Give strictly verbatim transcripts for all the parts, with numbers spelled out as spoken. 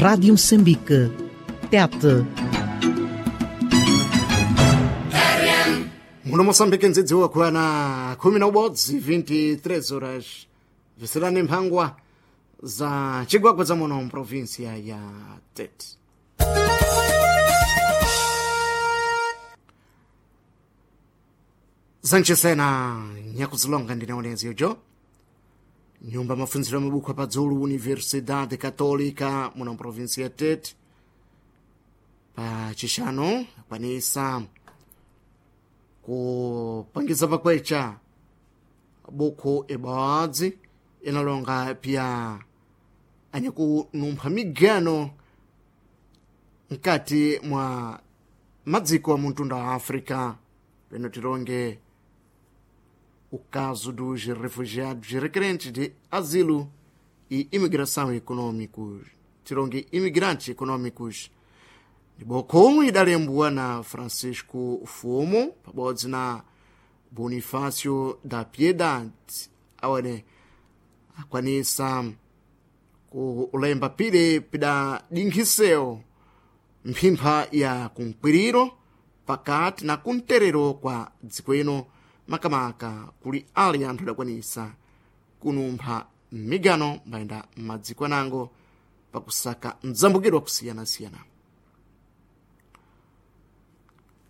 Rádio Moçambique, Tete. Muno Moçambique ndzidziwa kwana khumi na ubodzi vinte e três horas, visilani mphangwa za chigwagwa za muno mprovinsia ya Tete. Zanchisena nyakuzilonga ndinaonezi yojo nyumba mafunziro ya mabuku apadzulu Universidade Católica muno mprovinsia ya Tete pa chixano akwanisa kupangiza pakwecha buku ibodzi inalonga pya anyakunumpha migano mkati mwa madziko a muntunda wa África, peno tilonge o caso dos refugiados requerentes de asilo e imigração econômicos, tilonge imigrantes econômicos. Ndibokomwe idalembwa na Francisco Fumo pabodzi na Bonifácio da Piedade, awene akwanisa kulemba pile pidadinkhisewo mphimpha ya kumkwiriro pakati na kumterero kwa dziko ino, makamaka kuli ali anthu adakwanisa kunumpha migano mbayenda m'madziko anango pakusaka mdzambukidwa kusiyanasiyana.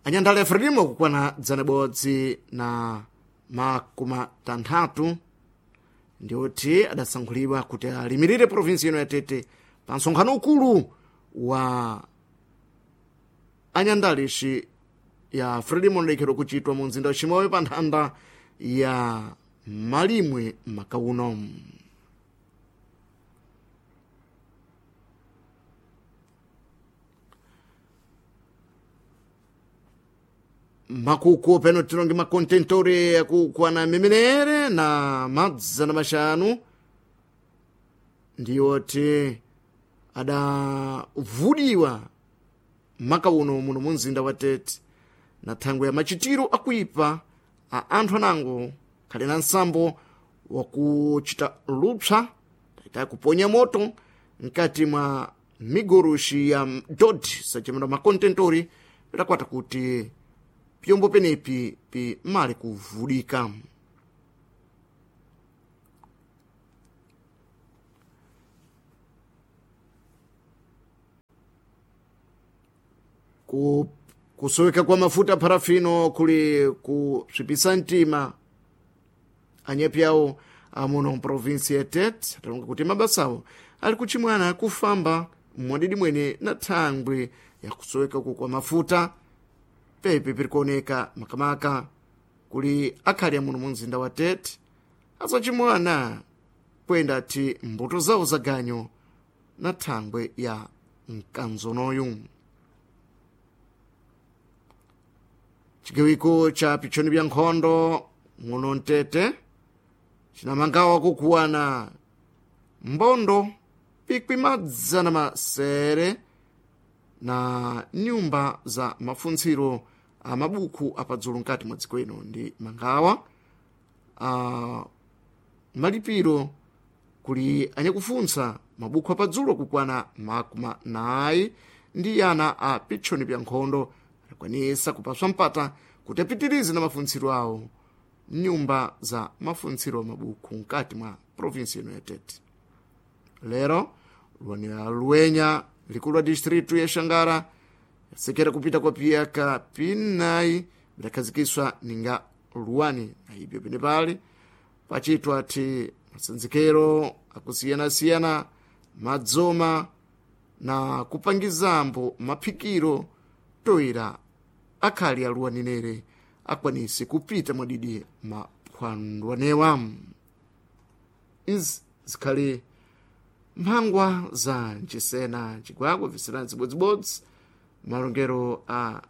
Anyandale a Frelimo kukwana dzana bodzi na makumi tanthatu ndioti adasankhulidwa kuti alimirire provinsi ino ya Tete pa msonkhano ukulu wa anyandalishi ya Frelimo unalekhedwa kuchitwa mu mzinda wa Chimoyo pa nthanda ya Malimwe makauno. Makuku peno tilonge makontentore akukwana mimenere na madzana maxanu ndiyoti adavudiwa makauno muno mu mzinda wa Tete na thangwe ya machitiro akuipa a anthu anango khali na nsambo wakuchita lupsa taita kuponya moto mkati mwa migoroxi ya dodi sachemedwa makontentori, pidakwata kuti pyombo penepi pi mali kuvudika. Ku, kusoweka kwa mafuta parafino kuli kusvipisa mtima anyepi awo amuno mprovinsi ya Tete, atalonga kuti mabasawo ali kuchimwana kufamba mwadidi mwene na thangwi ya kusoweka uku kwa mafuta pepe pirikuoneka makamaka kuli akhali amuno mu mzinda wa Tete azacimwana kwenda ti mbuto zawo za ganyo na thangwe ya mkanzonoyu. Chigawiko cha pichoni bya nkhondo muno Mtete cinamangawa kukuwana mbondo pikwi madzana masere na nyumba za mafuntsiro a mabuku apadzulu mkati mwa dziko ino ndi mangawa a malipiro kuli anyakufuntsa mabuku apadzulu kukwana makumi nayi ndi ana a pichoni bya nkhondo akwanisa kupaswa mpata kuti apitirize na mafuntsiro awo nyumba za mafuntsiro a mabuku mkati mwa provinsi ino ya Tete. Lero luwanira luwenya likulu la distritu ya Xangara yasekera kupita kwa piyaka pinayi bidakhazikiswa ninga luwani, na ibyo pene pali pachitwa ati masanzikero akusiyanasiyana madzoma na kupangizambo maphikiro toera akhali aluwaninere akwanise kupita mwadidi maphwandwanewa. Izi zikhali mphangwa za ncisena ncigwagwa visilani zibodzibodzi malongero a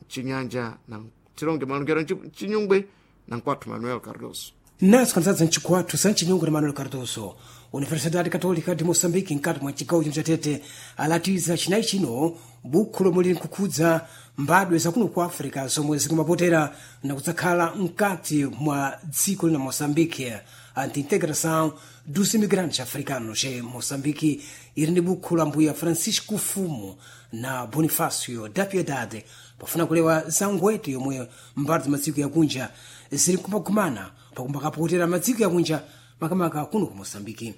chinyanja na tilonge malongero a chinyungwe na nkwathu Manuel Cardoso. Naso kanzadza mchikwathu sa mchinyungwe na Manuel Cardoso. Universidade Católica de Moçambique mkati mwa chigawo chino cha Tete alatiza chinayi chino bukhu lomwe lili nkukhudza mbadwe zakuno ku Africa zomwe zikumapotera na kudzakhala mkati mwa dziko lina Moçambique. anti-integração dos imigrantes africanos em Moçambique. Ili ndi bukhu la mbuya Francisco Fumo na Bonifácio da Piedade pafuna kulewa za ngwete yomwe mbali za madziko yakunja zili kumakumana pakumbakapokotera madziko yakunja makamaka kuno ku Moçambique.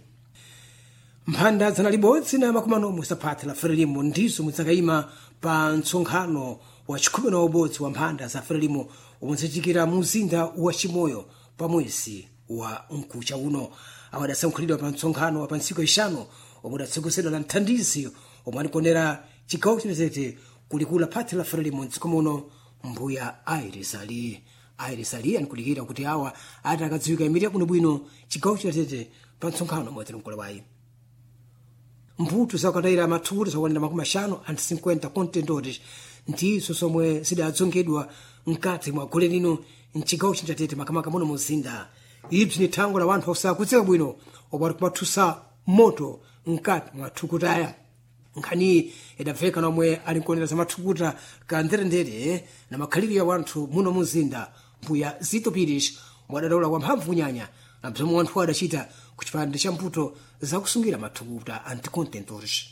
Mphanda zana libodzi na makumi anomwe saphatha la Frelimo ndizo mudzakayima pa mtsonkhano wa chikhumi na ubodzi wa mphanda za Frelimo omwe udzachitikira mu mzinda wa Chimoyo pa mwezi wa mkucha uno. Awo adasankhulidwa pa mtsonkhano wa pa ntsiku ixanu omwe udatsogozeredwa na mthandizi omwe anikonera chigawo chinatete kulikula phathi la Frelimo mdziko muno mbuya Iris Ali. Iris Ali anikulikira kuti awa ati akadziwika imirira bwinobwino chigawo chinatete pa mtsonkhano omwe atilimkolewayi. Mputu zakatayira mathukuta zakwanira makumi axanu and cinquenta contentores ndizo zomwe zidadzongedwa mkati mwa gole lino mchigawo chinjatete makamaka muno muzinda. Ibzi ni thangwe la wanthu osakudzeka bwino omwe akumathusa moto mkati mwa thukutaya. Nkhaniyi idabveka nomwe alinkuonera za mathukuta ka nderendere na makhalidwe ya wanthu muno muzinda mbuya Zito Pires mwadadaula kwa mphamvu kunyanya na bzomwe wanthu adachita ku chipande cha mputo zakusungira mathukuta anticontentores.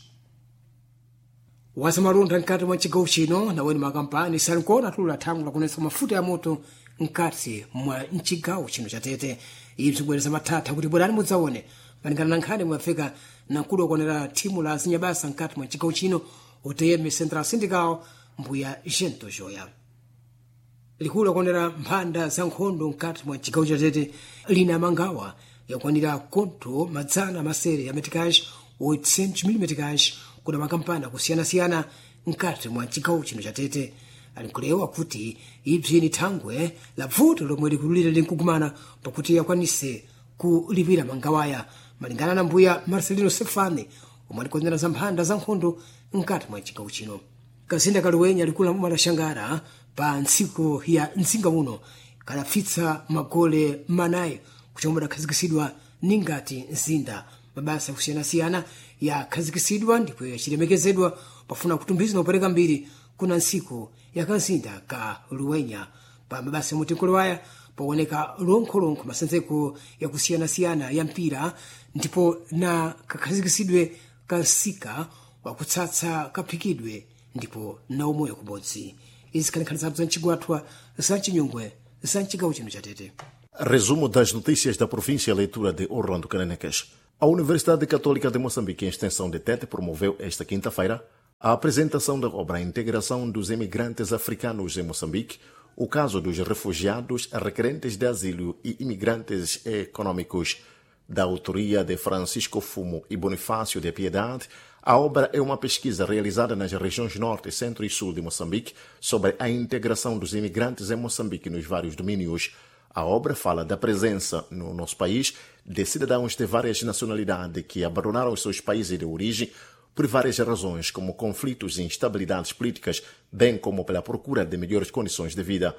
Wazamalonda mkati mwa chigawo chino naweni makampani salinkuona atulula thangwi lakunetsa mafuta ya moto mkati mwa mchigawo chino cha Tete. Ibzi kubwereza mathatha kuti bwerani mudzaone malingana na nkhani mwafika na mkulu wakuonera thimu la zinyabasa mkati mwa chigawo chino O T M Central Sindical mbuya Gento Joya. Likulu lakuonera mphanda za nkhondo mkati mwa chigawo cha Tete lina mangawa yakwanira konto madzana masere ya meticage oitocentos mil meticage kuna makampani akusiyana-siyana mkati mwa chigawo chino cha Tete. Alinkulewa kuti ibzi ni thangwe la bvuto lomwe likulira linkukumana pakuti yakwanise kulipira mangawaya malingana na mbuya Marcelino Sefane omwe alikonzera za mphanda za nkhondo mkati mwa chigawo chino. Kazinda kaluwenya likula mala pa ntsiku ya mzinga uno kalafitsa magole manayi kuchomwe adakhazikisidwa ningati mzinda. Mabasa akusiyana-siyana yakhazikisidwa ndipo yachilemekezedwa pafuna kutumbiza na kupereka mbiri kuna ntsiku ya kazinda ka Luwenya. Pa mabasa yamutenkolewaya paoneka lonkholonkho masenzeko yakusiyana-siyana ya mpira ndipo na kakhazikisidwe kansika wakutsatsa kaphikidwe ndipo na umoyo kubodzi. Izi khalinkhani zabzo za mchigwathwa za mchinyungwe za mchigawo chino cha Tete. Resumo das notícias da província, leitura de Orlando Cananecas. A Universidade Católica de Moçambique, em extensão de Tete, promoveu esta quinta-feira a apresentação da obra Integração dos Imigrantes Africanos em Moçambique, o caso dos refugiados, requerentes de asilo e imigrantes econômicos. Da autoria de Francisco Fumo e Bonifácio de Piedade, a obra é uma pesquisa realizada nas regiões Norte, Centro e Sul de Moçambique sobre a integração dos imigrantes em Moçambique nos vários domínios. A obra fala da presença no nosso país de cidadãos de várias nacionalidades que abandonaram os seus países de origem por várias razões, como conflitos e instabilidades políticas, bem como pela procura de melhores condições de vida.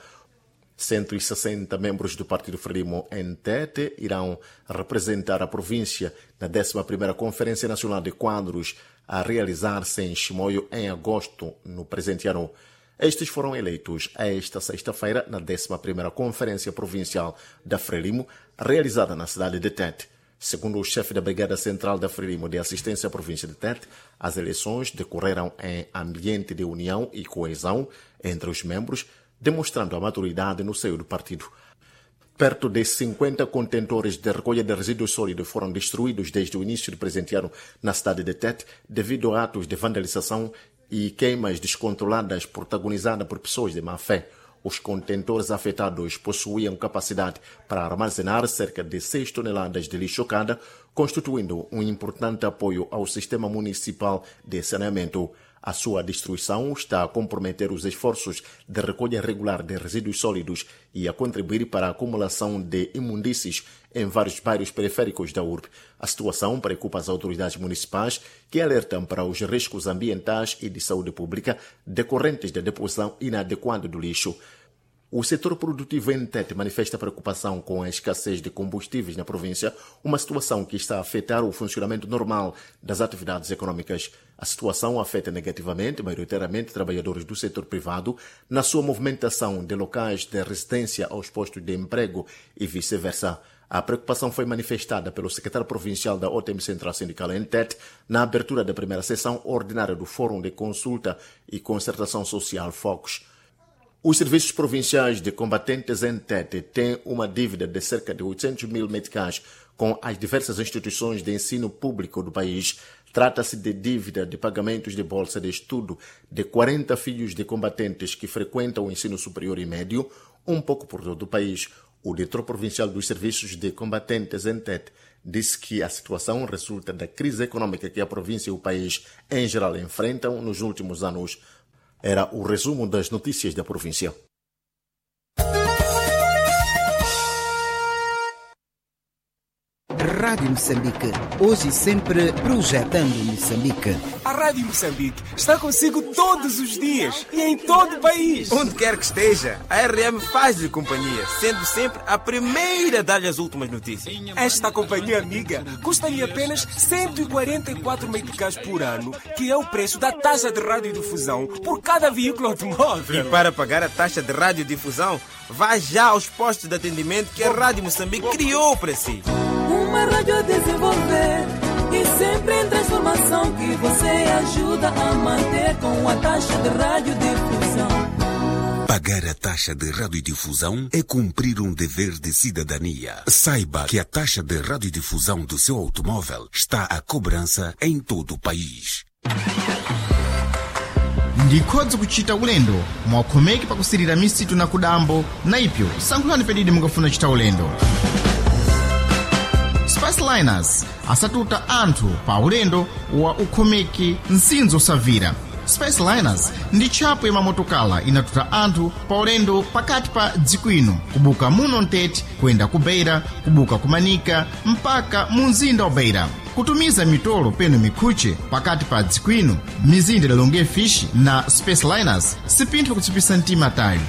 cento e sessenta membros do Partido Frelimo em Tete irão representar a província na décima primeira Conferência Nacional de Quadros a realizar-se em Chimoio em agosto, no presente ano. Estes foram eleitos esta sexta-feira na décima primeira Conferência Provincial da Frelimo, realizada na cidade de Tete. Segundo o chefe da Brigada Central da Frelimo de Assistência à Província de Tete, as eleições decorreram em ambiente de união e coesão entre os membros, demonstrando a maturidade no seio do partido. Perto de cinquenta contentores de recolha de resíduos sólidos foram destruídos desde o início do presente ano na cidade de Tete, devido a atos de vandalização e queimas descontroladas protagonizadas por pessoas de má fé. Os contentores afetados possuíam capacidade para armazenar cerca de seis toneladas de lixo cada, constituindo um importante apoio ao sistema municipal de saneamento. A sua destruição está a comprometer os esforços de recolha regular de resíduos sólidos e a contribuir para a acumulação de imundícies em vários bairros periféricos da urbe. A situação preocupa as autoridades municipais, que alertam para os riscos ambientais e de saúde pública decorrentes da deposição inadequada do lixo. O setor produtivo em Tete manifesta preocupação com a escassez de combustíveis na província, uma situação que está a afetar o funcionamento normal das atividades econômicas. A situação afeta negativamente, maioritariamente, trabalhadores do setor privado na sua movimentação de locais de residência aos postos de emprego e vice-versa. A preocupação foi manifestada pelo secretário provincial da O T M Central Sindical em Tete na abertura da primeira sessão ordinária do Fórum de Consulta e Concertação Social Focus. Os serviços provinciais de combatentes em Tete têm uma dívida de cerca de oitocentos mil meticais com as diversas instituições de ensino público do país. Trata-se de dívida de pagamentos de bolsa de estudo de quarenta filhos de combatentes que frequentam o ensino superior e médio, um pouco por todo o país. O diretor provincial dos serviços de combatentes em Tete disse que a situação resulta da crise econômica que a província e o país em geral enfrentam nos últimos anos. Era o resumo das notícias da província. Rádio Moçambique, hoje e sempre projetando Moçambique. A Rádio Moçambique está consigo todos os dias e em todo o país. Onde quer que esteja, a R M faz-lhe companhia, sendo sempre a primeira a dar-lhe as últimas notícias. Esta companhia amiga custa-lhe apenas cento e quarenta e quatro meticais por ano, que é o preço da taxa de radiodifusão por cada veículo automóvel. E para pagar a taxa de radiodifusão, vá já aos postos de atendimento que a Rádio Moçambique criou para si. Uma rádio a desenvolver e sempre em transformação, que você ajuda a manter com a taxa de radiodifusão. Pagar a taxa de radiodifusão é cumprir um dever de cidadania. Saiba que a taxa de radiodifusão do seu automóvel está à cobrança em todo o país. Ndikhodzi kuchita ulendo mwakhomeki pakusirira misitu na kudambo na ipyo sankhulani pedidi mukafuna chita ulendo. Spaceliners asatuta anthu pa ulendo wa ukhomeki msinzo osavira. Spaceliners ndi tchapo ya mamotokala inatuta anthu pa ulendo pakati pa dziko ino, kubuka muno mtete kuyenda ku Beira, kubuka ku Manika mpaka mu mzinda wa Beira, kutumiza mitolo peno mikhuche pakati pa dziko ino, mizinda idalonge fishi na Spaceliners sipinthu kutsipisa mtima tayo.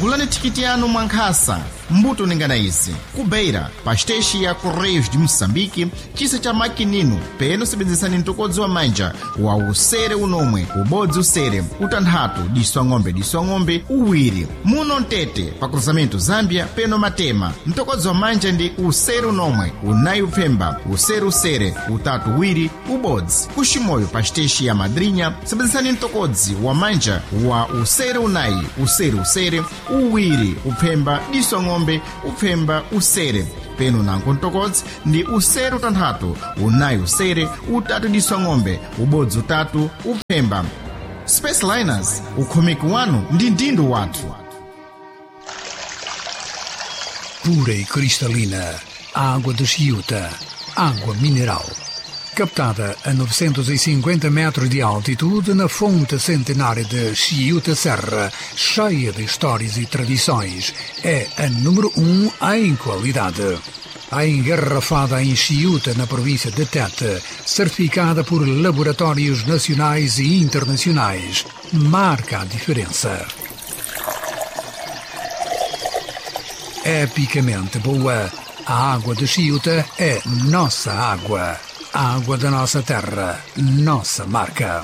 Gulani thikiti yanu mwankhasa mbuto ningana izi ku Beira pa xiteshi ya Correios de Moçambique, chisa cha makinino peno sebenzesani mtokodzi wa manja wa usere unomwe ubodzi usere utanthatu diso ang'ombe diso ang'ombe uwiri muno mtete pa cruzamento Zambia peno matema mtokodzi wa manja ndi usere unomwe unayi upfemba usere usere utatu uwiri ubodzi kuximoyo pa xiteshi ya Madrinha sebenzesani mtokodzi wa manja wa usere unayi usere usere uwiri upfemba diso ang'ombe upfemba usere peno nanko mtokodzi ndi usere utanthatu unayi usere utatu diso ang'ombe ubodzi utatu upfemba. Spaceliners, ukhomeki wanu ndi ndindo wathu. Pura e cristalina, água de Chiuta, água mineral. Captada a novecentos e cinquenta metros de altitude na fonte centenária de Chiuta Serra, cheia de histórias e tradições, é a número um em qualidade. A engarrafada em Chiuta, na província de Tete, certificada por laboratórios nacionais e internacionais, marca a diferença. Epicamente boa, a água de Chiuta é nossa água. A água da nossa terra, nossa marca.